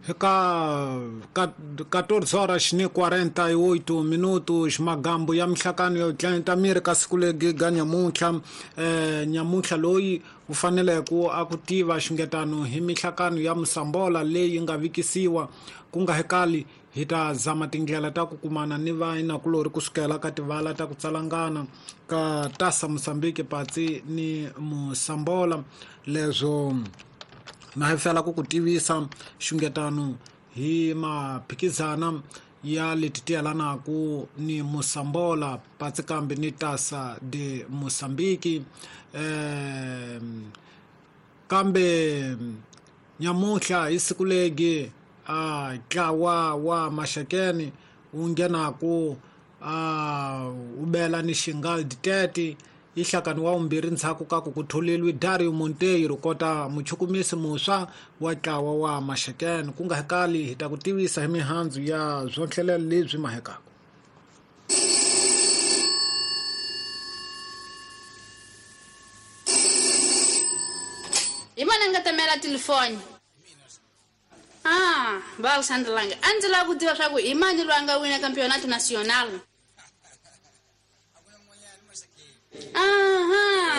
Ka 14 horas ni 48 minutos, magambo ya mihlakano yo tlenta miri ka siku legi ga nyamuntlha. Nyamuntlha loyi u fanele ku a ku tiva xingetano hi mihlakano ya Musambola leyi nga vikisiwa ku nga hekali. Hi ta zama tindlela ta ku kumana ni vainakulori kusukela ka tivala ta ku tsalangana ka Tasa Mosambiki patsi ni Musambola. Leswo na hi fela ku ku tivisa xungetano hi maphikizana ya leti ti yelanaku ni Musambola patsi kambe ni Tasa de Mosambiki. Kambe nyamuhla hi siku legi a ntlawa wa Maxakeni wu nghenaku a wu bela ni Xingaldi 30 yi hlakani wa vumbirhi ndzhaku ka ku ku tholeriwe Dario Monteiro kota muchukumisi muntshwa wa ntlawa wa Maxakeni. Ku nga hekali hi ta ku tivisa hi mihandzu ya swonhlelelo lebyi mahekaka. Hi mani a nga tamela telefoni? Ah, va Alexandre Langa, a ndzi lava ku tiva swa ku hi mani loyi a nga wina Campeonato Nacional. Aha.